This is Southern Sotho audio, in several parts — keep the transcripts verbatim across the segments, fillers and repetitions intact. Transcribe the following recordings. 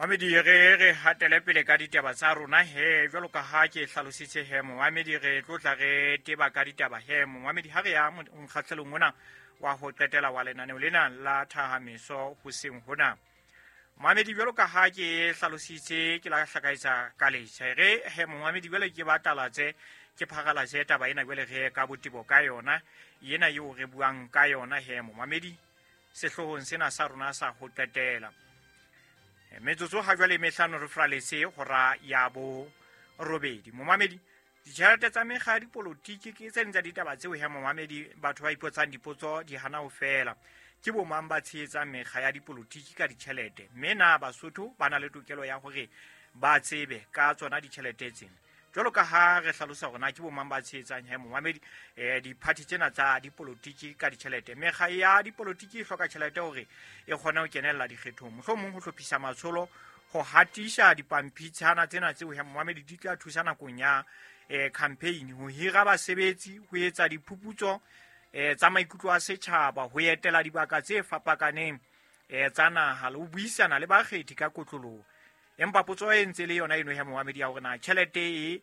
Momamedi, re re hatele pele ka ditaba tsa rona he. Jwalo ka ha ke hlalositse he, momamedi, re tlo tla re teba ka ditaba he, momamedi, ha re ya mokgahlelong ona wa ho qetela wa lenaneo lena la Thahameso hoseng hona. Momamedi, jwalo ka ha ke hlalositse, ke la hlakaetsa ka letjha re he, momamedi, jwale ke batalatse, ke pharalatse taba ena jwale re ka botebo ka yona ena eo re buang ka yona he, momamedi, sehloohong sena sa rona sa ho qetela. Metsotso ha jwale mehlano re fraletse hora ya bo robedi. Momamedi, ditjhelete tsa mekga ya dipolotiki ke tse ding tsa ditaba tseo he, momamedi, batho ba ipotsang dipotso di hana ho fela. Ke bo mang ba tshehetsang mekga ya dipolotiki ka ditjhelete? Mme na Basotho ba na le tokelo ya hore ba tsebe ka tsona ditjhelete tsena? Jwalo ka ha re hlalosa hore na ke bo mang ba tshehetsang he, momamedi, eh diphathi tsena tsa dipolotiki ka ditjhelete. Mekga ya dipolotiki e hloka tjhelete hore e kgone ho kenella dikgethong, mohlomong ho hlophisa matsholo, ho hatisa dipampitshana tsena tseo he, momamedi, di tla thusa nakong ya eh campaign, ho hira basebetsi, ho etsa diphuputso eh tsa maikutlo a setjhaba, ho etela dibaka tse fapakaneng eh tsa naha le ho buisana le bakgethi ka kotloloho. Empa potso e ntse le yona eno he, momamedi, ya hore na tjhelete e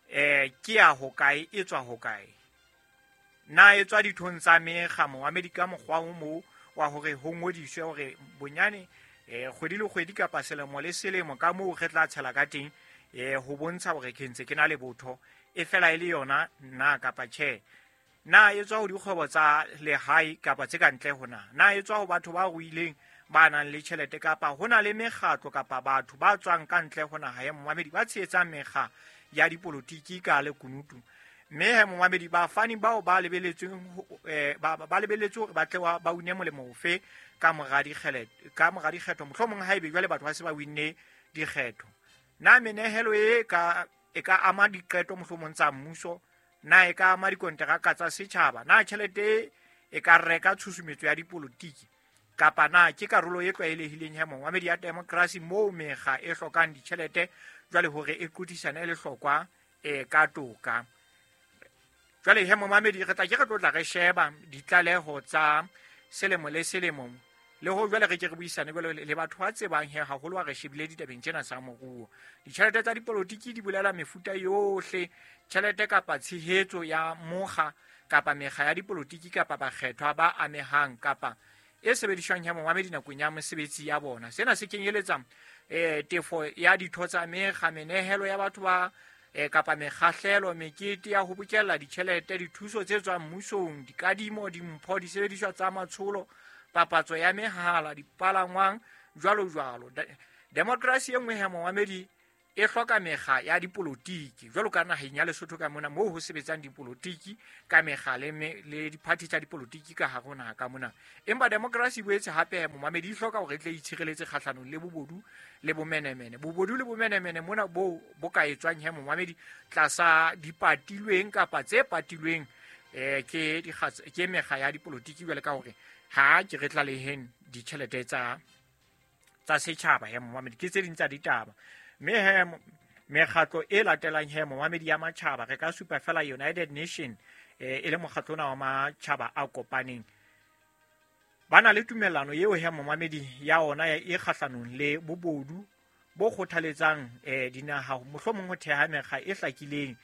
eh ke ya hokae, e tswa hokae? Na e tswa dithong tsa mekga, momamedi, ka mokgwa o mo wa hore ho ngodiswe hore bonyane eh kgwedi le kgwedi kapa selemo le selemo ka moo re tla tshela ka teng eh ho bontsha hore ke ntse ke na le botho, e fela e le yona na kapa tjhe? Na e tswa ho dikgwebo tsa lehae kapa tse ka ntle ho na? Na e tswa ho batho ba ruileng ba nang le tjhelete, kapa ho na le mekgatlo kapa batho ba tswang ka ntle ho naha ya, momamedi, ba tshehetsang mekga ya dipolotiki ka lekunutu? Mme he, momamedi, bafani bao ba lebeletsweng eh ba ba lebeletswe hore ba tle ba une molemo ofe ka mora dikgele ka mora dikgetho, mohlomong haebe jwale batho ba se ba winne dikgetho? Na menehelo e ka e ka ama diqeto mohlomong tsa mmuso? Na e ka ama dikonteraka tsa setjhaba? Na tjhelete e ka reka tshusumetso ya dipolotiki, kapa na ke karolo e tlwaelehileng ya momamedi ya demokrasi moo mekga e hlokang ditjhelete jwale hore e qothisane le hlokwa e ka toka? Jwale he, momamedi, re tla ke re tlo tla re sheba ditlaleho tsa selemo le selemo, le ho jwale re ke re buisane jwale le batho ba tsebang he haholo ha re shebile ditabeng tsena tsa moruo. Ditjhelete tsa dipolotiki di bolela mefuta yohle tjhelete kapa tshehetso ya mokga kapa mekga ya dipolotiki kapa bakgethwa ba amehang kapa e sebediswang ya momamedi nakong ya mosebetsi ya bona. Sena se kenyeletsa eh tefo ya ditho tsa mekga, menehelo ya batho ba eh kapa mekgahlelo, mekete ya ho bokella ditjhelete, dithuso tse tswang mmusong, dikadimo, dimpho, disebediswa tsa matsholo, papatso ya mehala, dipalangwang, jwalo jwalo. Demokrasi e nngwe ya momamedi e hloka mekga ya dipolotiki, jwalo ka naheng ya Lesotho ka mona moo ho sebetsang dipolotiki ka mekga le le diphathi tsa dipolotiki ka hare ho naha ka mona. Empa demokrasi e boetse hape, momamedi, e hloka hore e tle itshireletse kgahlanong le bobodu le bomenemene. Bobodu le bomenemene mona bo bo ka etswang he, momamedi, tlasa dipatilweng kapa tse patilweng eh ke ke mekga ya dipolotiki, jwale ka hore ha ke re tlaleheng ditjhelete tsa tsa setjhaba he, momamedi, ke tse ding tsa ditaba. Mme he, mekgatlo e latelang he, momamedi, ya matjhaba, re ka supa fela United Nation eh e le mokgatlo ona wa matjhaba a kopaneng. Ba na le tumellano eo he, momamedi, ya ona e kgahlanong le bobodu bo kgothaletsang eh dinaha mohlomong ho theha mekga e hlakileng,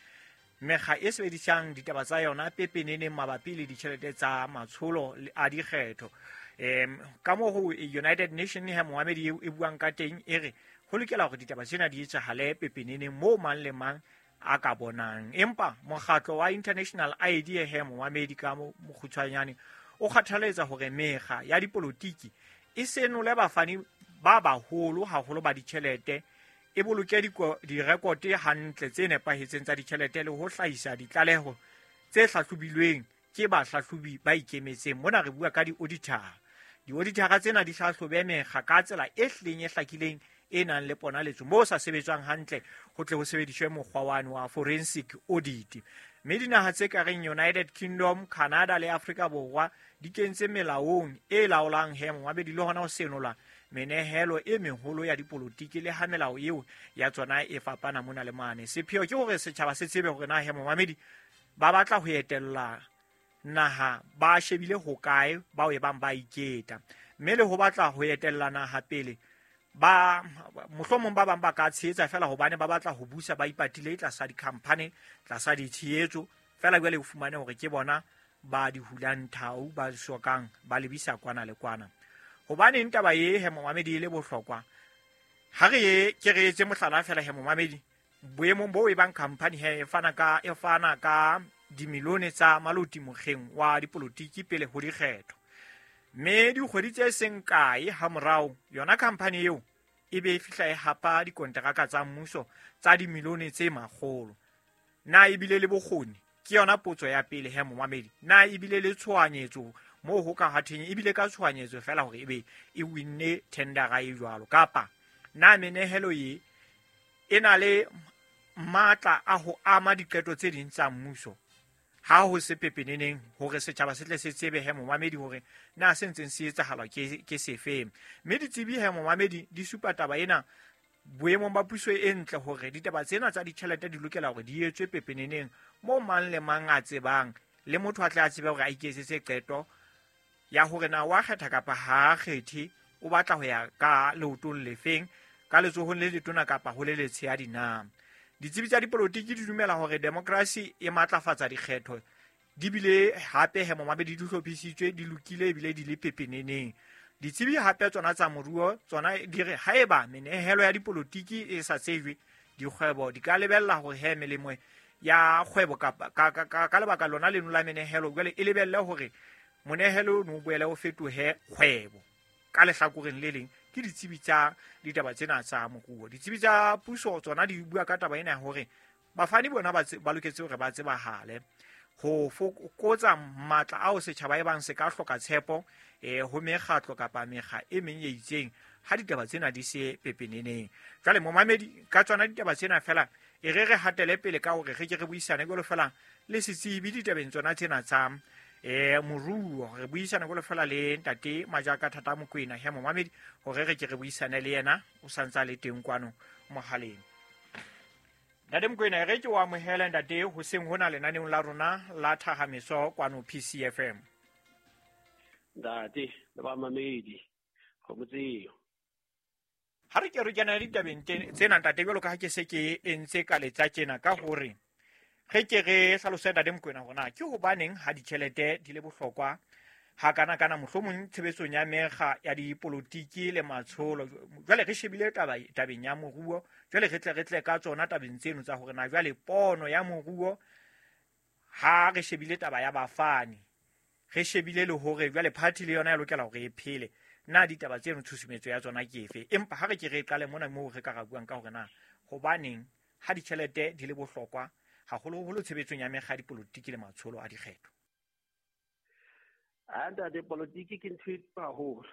mekga e sebedisang ditaba tsa yona pepeneneng mabapi le ditjhelete tsa matsholo a dikgetho. Em ka moo ho United Nation he, momamedi, e buang ka teng, e re ho lokela hore ditaba tsena di etsahale pepeneneng moo mang le mang a ka bonang. Empa mokgatlo wa International I D he, momamedi, ka mokgutshwanyane o kgathaletsa hore mekga ya dipolotiki e senole bafani ba baholo haholo ba ditjhelete, e boloke direkote hantle tse nepahetseng tsa ditjhelete le ho hlahisa ditlaleho tse hlahlobilweng ke bahlahlobi ba ikemetseng. Mona re bua ka di-auditor. Di-auditor tsena di hlahlobe mekga ka tsela e hlileng e hlakileng e nang le ponaletso, moo sa sebetswang hantle ho tle ho sebediswe mokgwa wane wa forensic audit. Mme dinaha tse ka reng United Kingdom, Canada le Afrika Borwa di kentse melaong e laolang he, momamedi, le hona ho senola menehelo e meholo ya dipolotiki, le ha melao eo ya tsona e fapana mona le mane. Sepheo ke hore setjhaba se tsebe hore na he, momamedi, ba batla ho etella naha ba shebile hokae bao e bang ba iketa, mme le ho batla ho etella naha pele Ba mohlomong ba bang ba ka tshehetsa fela hobane ba batla ho busa ba ipatile tlasa di-company, tlasa ditshehetso fela. Jwale o fumane hore ke bona ba di hulang thau, ba sokang ba lebisa kwana le kwana. Hobaneng taba e he momamedi e le bohlokwa? Ha re ye ke re etse mohlala fela he momamedi, boemong bo e bang company he e fana ka e fana ka dimilione tsa maloti mokgeng wa dipolotiki pele ho dikgetho, mme dikgwedi tse seng kae hamorao yona company eo e be e fihla e hapa dikonteraka tsa mmuso tsa dimilione tse makgolo. Na ebile le bokgoni? Ke yona potso ya pele he momamedi. Na ebile le tshohanyetso moo ho ka hatheng ebile ka tshohanyetso fela hore ebe e winne tendera e jwalo, kapa na menehelo ye e na le matla a ho ama diqeto tse ding tsa mmuso? Ha ho se pepeneneng hore setjhaba se tle se tsebe he momamedi hore na se ntseng se etsahala ke ke sefe. Mme ditsebi he momamedi di supa taba ena boemong ba puso e ntle hore ditaba tsena tsa ditjhelete di lokela hore di etswe pepeneneng moo mang le mang a tsebang, le motho a tle a tsebe hore a iketsetse qeto ya hore na wa kgetha kapa ha a kgethe, o batla ho ya ka leotong lefeng, ka letsohong le letona kapa ho le letshehadi na. Ditsebi tsa dipolotiki di dumela hore demokrasi e matlafatsa dikgetho, di bile hape he momamedi di hlophisitswe, di lokile ebile di le pepeneneng. Ditsebi hape tsona tsa moruo tsona di re haeba menehelo ya dipolotiki e sa tsejwe, dikgwebo di ka lebella hore he melemo ya kgwebo kapa ka, ka, ka, ka lebaka lona leno la menehelo jwale e lebelle hore monehelo o no boele o fetohe kgwebo. Ka lehlakoreng le leng ke ditsebi tsa ditaba tsena tsa moruo. Ditsebi tsa puso tsona di bua ka taba ena ya hore bafani bona ba ba loketse hore ba tsebahale ho fokotsa matla ao setjhaba e bang se ka hloka tshepo eh ho mekgatlo kapa mekga e meng e itseng ha ditaba tsena di se pepeneneng. Jwale momamedi, ka tsona ditaba tsena fela e re re hatele pele ka hore re ke re buisane jwalo fela le setsebi ditabeng tsona tsena tsa eh moruo. Re buisana jwalo fela le ntate Majaka Thata Mokoena he momamedi hore re ke re buisane le yena, o santsa le teng kwano mohaleng. Ntate Mokoena, re ke o amohele ntate hoseng hona lenaneong la rona la Thahameso kwano P C F M. Ntate le bamamedi go motseo. Ha re ke re kena ditabeng tsena ntate, jwalo ka ha ke se ke entse ka letsa tjena ka hore re ke re hlalose ntate Mokoena hore na ke hobaneng ha ditjhelete di le bohlokwa ha kana kana mohlomong tshebetsong ya mekga ya dipolotiki le matsholo. Jwale re shebile taba tabeng ya moruo, jwale re tle re tle ka tsona tabeng tseno tsa hore na jwale pono ya moruo ha re shebile taba ya bafani, re shebile le hore jwale party le yona e lokela hore e phele, na ditaba tseno tshusumetso ya tsona ke efe? Empa ha re ke re qale mona moo re ka ra buang ka hore na hobaneng ha ditjhelete di le bohlokwa haholoholo tshebetsong ya mekga ya dipolotiki le matsholo a dikgetho. A ntate, politiki ke ntho e haholo.